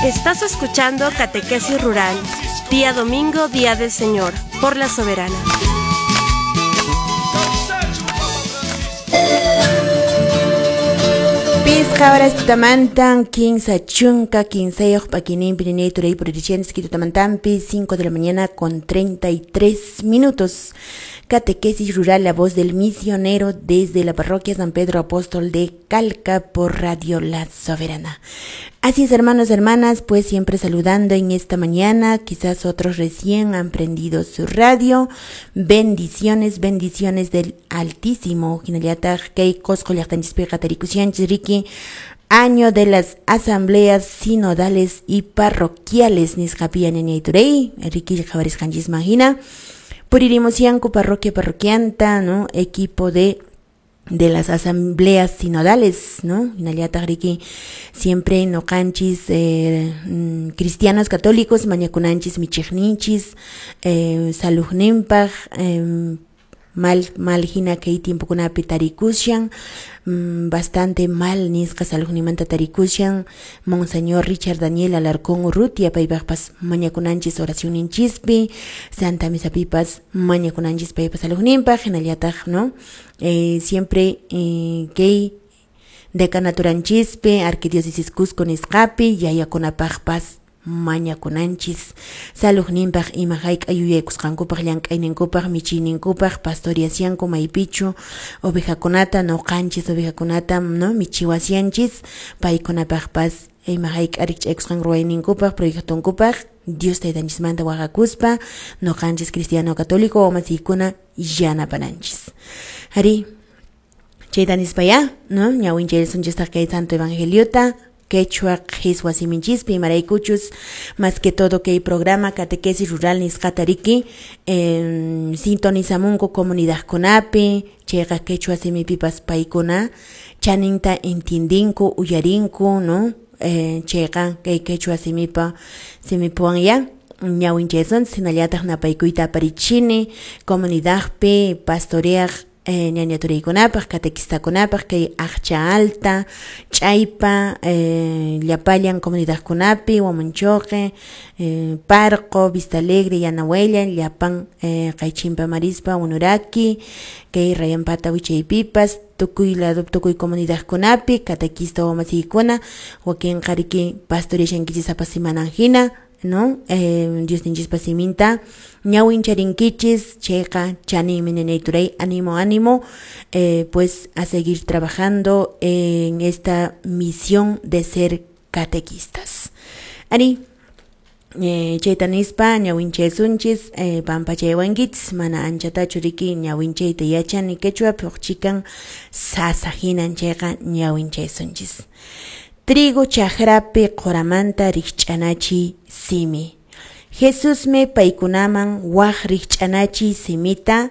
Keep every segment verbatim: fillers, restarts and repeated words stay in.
Estás escuchando Catequesis Rural, día domingo, día del Señor, por la Soberana. Pisqa horas tutamantan, quince chunka, quince paquinín, pirinei, turey, puririchens, quitutamantampi, cinco de la mañana con treinta y tres minutos. Catequesis Rural, la voz del misionero desde la parroquia San Pedro Apóstol de Calca por Radio La Soberana. Así es, hermanos, hermanas, pues siempre saludando en esta mañana, quizás otros recién han prendido su radio. Bendiciones, bendiciones del Altísimo. Año de las asambleas sinodales y parroquiales. Nisqapia ñañayturey, Ricky qhawarisqanchis mahina. Puririmusianku parroquia parroquianta, ¿no? Equipo de de las asambleas sinodales, ¿no? Hinallataq riki siempre noqanchis eh, cristianos católicos mañakunanchis michiqninchis eh, salujninpaq eh, mal mal hina kay tiempokunapi tarikushan, mm, bastante mal nisqa salujnimanta tarikushan Monseñor Richard Daniel Alarcón Urrutia paypaqpas mañakunanchis oracionninchispi Santa Misapipas mañakunanchis paypa salujninpaq hinallataq, ¿no? Eh, siempre eh, kay decanaturanchispi arquidiócesis Cusco nisqapi yayakunapaqpas mañakunanchis salujninpaq ima hayk'a yuyaykusqankupaq llank'ayninkupaq michiyninkupaq pastoriasianku maypichu ovejakunata noqanchis ovejakunata, no, michiwasianchis paykunapaqpas ima hayk'a rikch'aykusqan ruwayninkupaq proyectonkupaq Dios taytanchismanta waqakuspa noqanchis cristiano católico wamasiykuna yanapananchis. Ari chayta nispaya, no, ñawinchaysunchistaq kay santo evangeliota quechua qhiswa siminchispi imaraykuchus más que todo kay programa catequesis rural nisqata riki eh, sintonizamunku comunidadkunapi chayqa quechua simipipas paykuna chaninta entiendinku uyarinku, no, eh, chayqa kay quechua simipa simipuwan ya ñawinchaysunchis hinallataq napaykuyta aparichini comunidadpi pastoreaq Eh, ñañaturaykunapaq catequistakunapaq kay Aqcha Alta, Chaypa, eh, llapallan comunidadkunapi, Huamanchoque, eh, Parco, Vista Alegre, Yanahuella, llapan eh, Qaychimpa Marispa, Unuraki, kay Rayanpata wichaypipas, tukuy lado tukuy comunidadkunapi, catequista wamasiykuna, wakinqa riki pastoreashankichis sapa semananhina, ¿no? Eh, Dios ninchispa siminta ñawincharinkichis chayqa chaninmi ñañayturay, ánimo, ánimo, eh, pues a seguir trabajando en esta misión de ser catequistas. Ari, eh, chayta nispa ñawinchaysunchis eh, pampachaywankichis mana anchatachu riki ñawinchayta yachani quechua huk sasa hinan chayqa ñawinchaysunchis. Trigo chakrapi qoramanta rikch'anachi simi. Jesusmi paykunaman waq rikch'anachi simita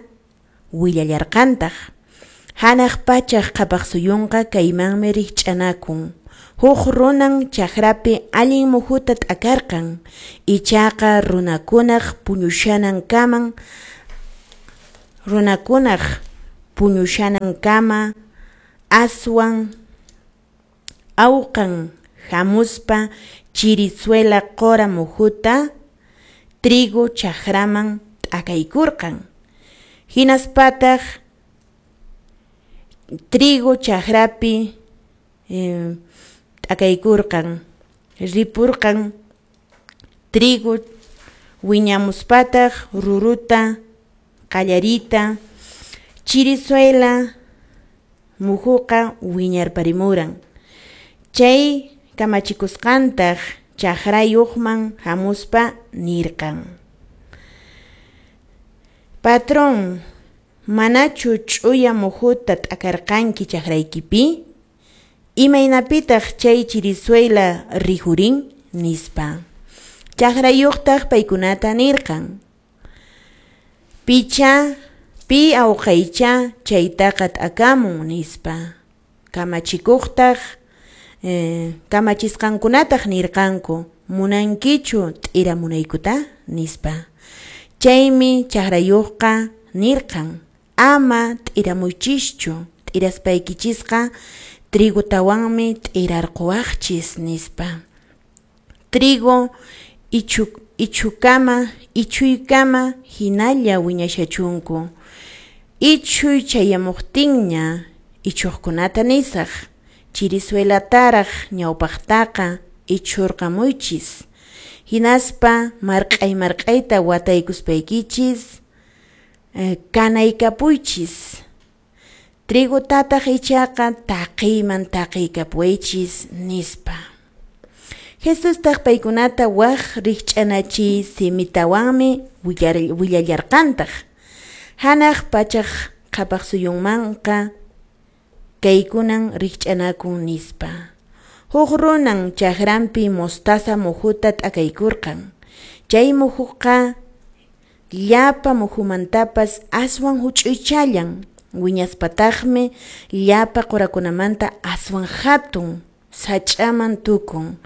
willallarqantaq. Hanaq pachaq qhapaq suyunqa kaymanmi rikch'anakun. Huk runan chakrapi allin muhuta t'akarqan. Ichaqa runakunaq puñushanankaman runakunaq puñushanankama aswan awqan hamuspa chirizuela qora muhuta trigo chakraman t'akaykurqan. Hinaspataq trigo chakrapi eh, t'akaykurqan, ripurqan trigo wiñamuspataq ruruta qallarita chirizuela muhuqa wiñarparimuran. Chay kamachikusqantaq chakrayuqman hamuspa nirqan: Patrón, manachu ch'uya muhuta t'akarqanki chakraykipi? Imaynapitaq chay chirizuela rihurin? Nispa. Chakrayuqtaq paykunata nirqan: Picha, pi awqaycha chaytaqa t'akamun, nispa. Kamachikuqtaq Eh, kamachisqankunataq nirqanku: munankichu t'iramunaykuta, nispa. Chaymi chakrayuqqa nirqan: ama t'iramuchischu, t'iraspaykichisqa trigutawanmi t'irarquwaqchis, nispa. Trigo ichu ichukama ichuykama hinalla wiñashachunku. Ichuy chayamuqtinña ichuqkunata nisaq, chirisuelataraq ñawpaqtaqa ichurqamuychis, hinaspa marq'ay marq'ayta wataykuspaykichis eh, kanaykapuychis, trigutataq ichaqa taqiyman taqiykapuwaychis, nispa. Jesustaq paykunata waq rikch'anachiy simitawanmi willallarqantaq. Hanaq pachaq qhapaq suyunmanqa kaykunan rikch'anakun, nispa. Huk runan chakranpi mostaza muhuta t'akaykurqan. Chay muhuqa llapa muhumantapas aswan huch'uychallan, wiñaspataqmi llapa qurakunamanta aswan hatun sach'aman tukun.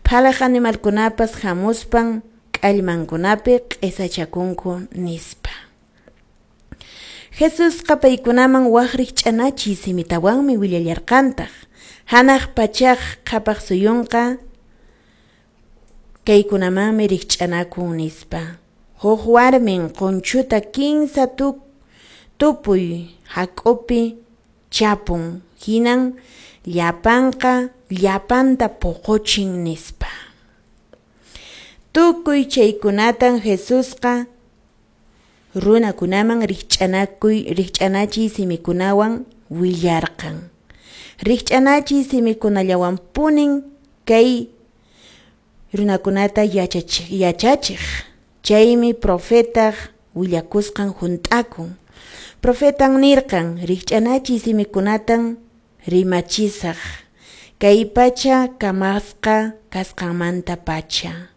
Phalaq animalkunapas hamuspan k'allmankunapi q'isachakunku, nispa. Jesusqa paykunaman waq rikch'anachiy simitawanmi willallarqantaq. Hanaq pachaq qhapaq suyunqa kaykunamanmi rikch'anakun, nispa. Huk warmin qunchuta kinsa tupuy hak'upi chapun, hinan llapanqa llapanta puquchin, nispa. Tukuy chaykunatan Jesusqa runakunaman rikch'anakuy rikch'anachiy simikunawan willarqan. Rikch'anachiy simikunallawanpunin kay runakunata yachachiq yachachiq. Chaymi profetaq willakusqan hunt'akun. Profetan nirqan, rikch'anachiy simikunatan rimachisaq, kay pacha kamasqa kasqanmanta pacha.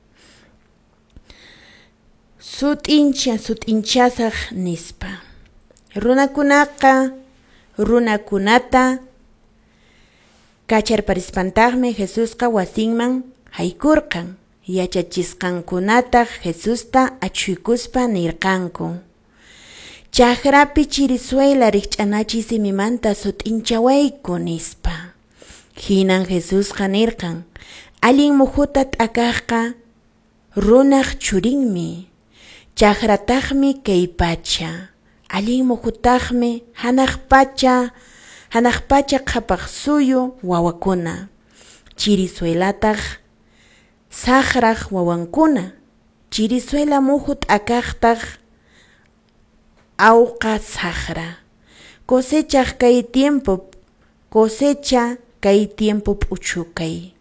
Sut'incha sut'inchasaq, nispa. Runakunaqa runakunata kacharparispantaqmi Jesusqa wasinman haykurqan. Yachachisqankunataq Jesusta achhuykuspa nirqanku: Chakrapi chirisuela rikch'anachiy simimanta sut'inchawayku, nispa. Hinan Jesusqa nirqan: Allin muhuta t'akaqqa runaq churinmi, chakrataqmi kay pacha. Allin muhutaqmi hanaq pacha, hanaq pacha qhapaq suyu wawakuna, chirisuelataq saqraq wawankuna, chirisuela muhu t'akaqtaq awqa saqra. Cosechaq kay tiempo, cosecha kay tiempo p'uchukay.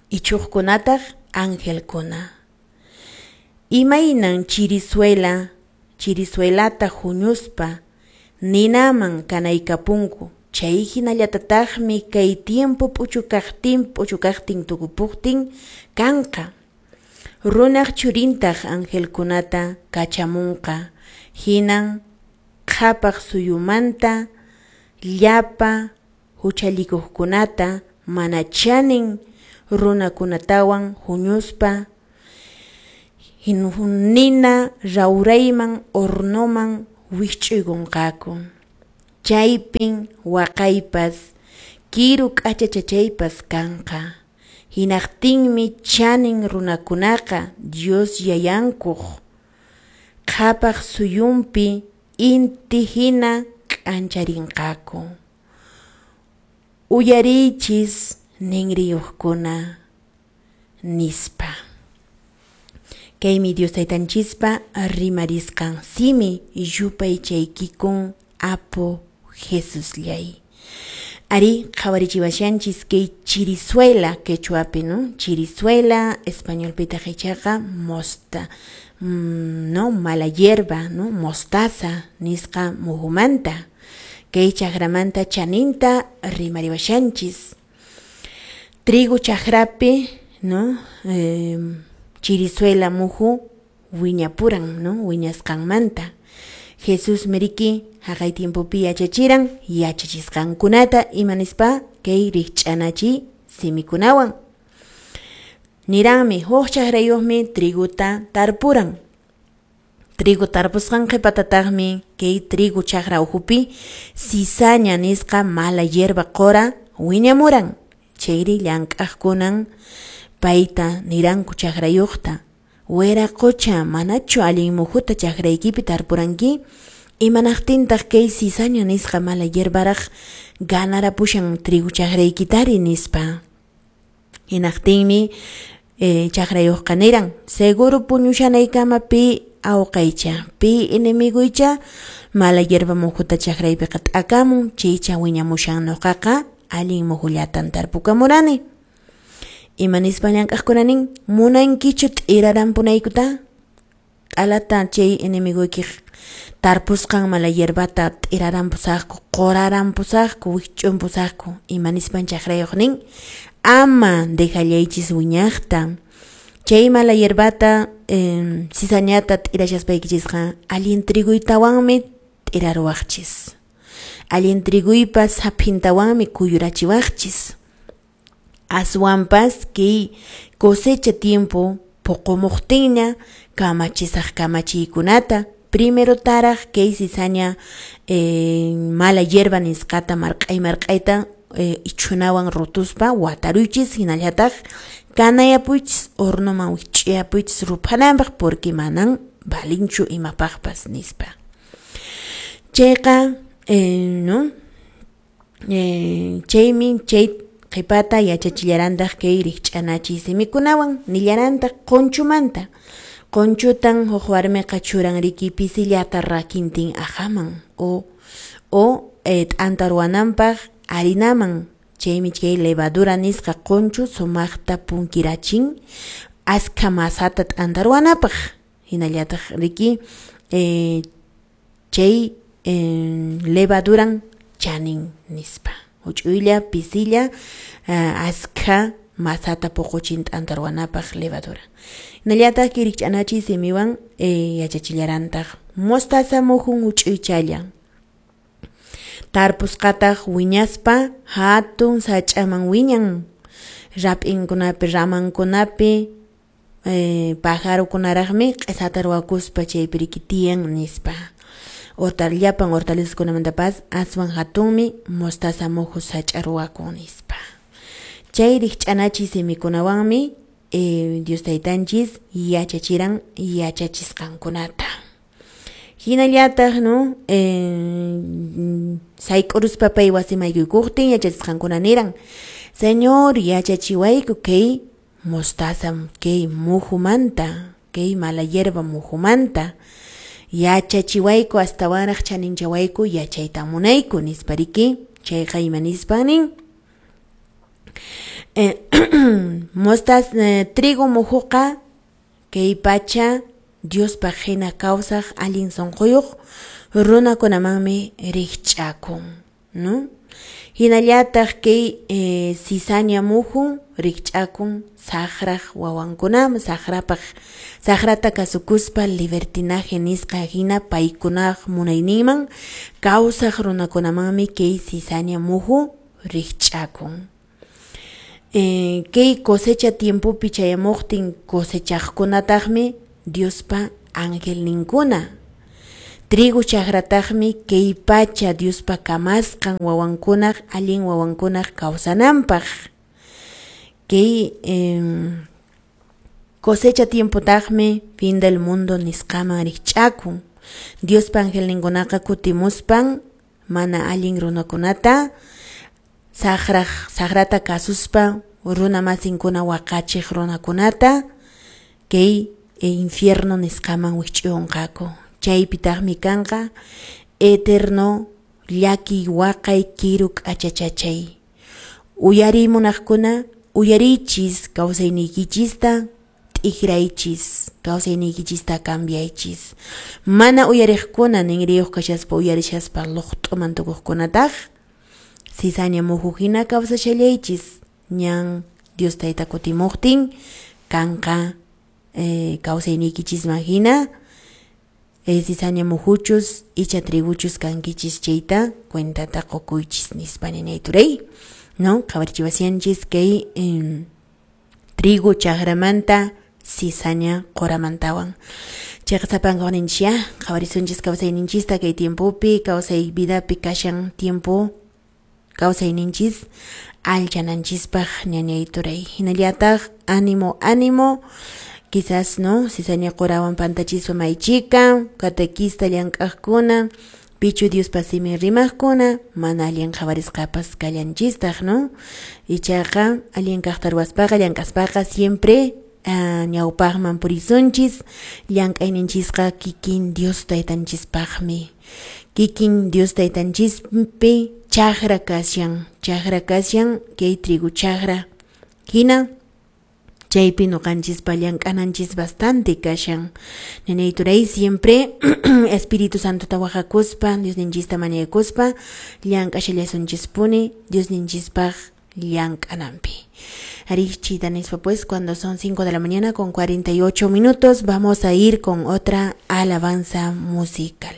Ichuqkunataq angelkuna. Imaynan chirisuela, chirisuelata huñuspa ninaman kanaykapunku, chay hinallatataqmi kay tiempo p'uchukaqtin p'uchukaqtin tukupuqtin kanqa. Runaq churintaq angelkunata kachamunqa, hinan qhapaq suyumanta llapa huchallikuqkunata mana chanin runakunatawan huñuspa nina rawrayman hornoman wikch'uykunqaku. Chaypin waqaypas kiru k'achachachaypas kanqa. Hinaqtinmi chanin runakunaqa Dios yayankuq qhapaq suyunpi inti hina k'ancharinqaku. Uyariychis ninriyuqkuna, nispa. Kaymi Dios taytanchispa rimarisqan simi, yupaychaykikun Apu Jesusllay. Ari qhawarichiwashanchis kay chirisuela quechuapi, no? Chirisuela, españolpitaq ichaqa mosta, mm, no, mala hierba, no, mostaza nisqa muhumanta. Kay chakramanta chaninta rimariwashanchis. Trigo chakrapi, no, eh, chirisuela muhu wiñapuran, no, wiñasqanmanta. Jesús meriki haqay tiempopi yachachiran yachachisqankunata ima nispa kay rikch'anachiy simikunawan. Niranmi huk chakrayuqmi triguta tarpuran. Trigo tarpusqan qhipatataqmi kay trigo chakra ukhupi cizaña nisqa mala hierba qura wiñamuran. Chayri llank'aqkunan Payta niranku chakrayuqta, wiraqocha, manachu allin muhuta chakraykipi tarpuranki? Imanaqtintaq kay cizaña nisqa mala hierbaraq ganarapushan trigo chakraykitari nispa. Hinaqtinmi eh, chakrayuqqa niran, seguro puñushanaykama pi awqaycha, pi enemiguycha mala hierba muhuta chakraypiqa t'akamun, chaycha wiñamushan nuqaqa allin muhullatan tarpukamurani. Ima nispa llank'aqkuna nin, munankichu t'irarampunaykuta? Q'alata chay enemiguykiq tarpusqan mala hierbata t'irarampusaqku, qurarampusaqku, wikch'umpusaqku. Ima nispan chakrayuq nin, ama dejallaychis wiñaqta. Chay mala hierbata eh, cizañata t'irashaspaykichishqa allin triguytawanmi t'iraruwaqchis. Allin triguypa saphintawanmi kuyurachiwaqchis. Aswanpas kay cosecha tiempo puqumuqtinña kamachisaq kamachiykunata primero taraq kay cizaña eh, mala hierba nisqata marq'ay marq'ayta eh, ichhunawan rutuspa wataruychis, hinallataq kanayapuychis, hornoman wikch'uyapuychis ruphananpaq, porque manan valinchu imapaqpas nispa. Chayqa eh, no eh, chaymi chay qhipata yachachillarantaq kay rikch'anachiy simikunawan, nillarantaq qunchumanta. Qunchutan huk warmiqa churan riki pisillata rakintin ajaman o o eh, t'anta ruwananpaq harinaman. Chaymi chay levadura nisqa qunchu sumaqta punkirachin askha masata t'anta ruwanapaq. Hinallataq riki eh, chay eh, levaduran chanin nispa. Huch'uylla pisilla uh, askha masata puquchin t'anta ruwanapaq levadura. Hinallataq kay rikch'anachiy simiwan eh, yachachillarantaq mostaza muhun huch'uychalla. Tarpusqataq wiñaspa hatun sach'aman wiñan. Rap'inkunapi, ramankunapi eh, pajarukunaraqmi q'isata ruwakuspa chaypi riki tiyan nispa. Hortal, llapan hortalizaskunamantapas aswan hatunmi mostaza muhu sach'a ruwakun nispa. Chay rikch'anachiy simikunawanmi eh, Dios taytanchis yachachiran yachachisqankunata. Hinallataq no eh, sayk'uruspa pay wasimaykuykuqtin yachachisqankuna niran, Señor, yachachiwayku kay mostaza kay muhumanta, kay mala hierba muhumanta. Yachachiwayku astawanraq chaninchawayku yachayta munayku nispa riki. Chayqa ima nispan nin, eh, mostaz eh, trigo muhuqa kay pacha Diospaq hina kawsaq allin sunquyuq runakunamanmi rikch'akun, no? Hinallataq kay eh, cizaña muhu rikch'akun saqraq wawankunaman, saqrapaq saqrata kasukuspa libertinaje nisqa hina paykunaq munayninman kawsaq runakunamanmi kay cizaña muhu rikch'akun. Eh, kay cosecha tiempopi chayamuqtin cosechaqkunataqmi Diospa angelninkuna. Trigo chakrataqmi kay pacha Diospa kamasqan wawankunaq allin wawankunaq kawsananpaq. Kay eh, cosecha tiempotaqmi fin del mundo nisqaman rikch'akun. Diospa angelninkunaqa kutimuspan mana allin runakunata saqraq saqrata kasuspa runa masinkuna waqachiq runakunata kay infierno nisqaman wikch'uyunqaku. Chaypitaqmi kanqa eterno llakiy waqay kiru k'achachachay. Uyariy munaqkuna uyariychis, kawsayniykichista t'ikraychis, kawsayniykichista cambiaychis. Mana uyariqkuna ninriyuq kashaspa uyarishaspa luqt'uman tukuqkunataq cizaña muhu hina kawsashallaychis. Ñan Dios tayta kutimuqtin kanqa eh, kawsayniykichisman hina eh, cizaña muhuchus icha triguchus kankichis chayta cuentata qukuychis nispa ninay turay, no? Qhawarichiwasianchis kay eh, trigo chakramanta cizaña quramantawan. Chayqa sapanka ninchis qhawarisunchis kawsayninchista kay tiempopi, kawsay vidapi kashan tiempo Kawsayninchis allchananchispaq, ñañay turay. Hinallataq ánimo, ánimo, quizás, no, cizaña qurawan pantachispa maychika, catequista llank'aqkuna, pichu Diospa simin rimaqkuna, mana allin qhawarisqapas kallanchistaq, no? Ichaqa allin kaqta ruwaspaqa, llank'aspaqa siempre uh, ñawpaqman purisunchis, llank'ayninchisqa kikin Dios taytanchispaqmi. Kikin Dios taytanchispi chakra kashan, chakra kashan, kay trigo chakra. Hina chaypi ñuqanchispa llank'ananchis bastante kashan. Ñañay turay, siempre Espíritu Santo wajakuspa, Diosninchista mañakuspa, llank'ashallasunchispuni Diosninchispaq llank'ananpi. Arichita nispa, pues, cuando son cinco de la mañana con cuarenta y ocho minutos, vamos a ir con otra alabanza musical.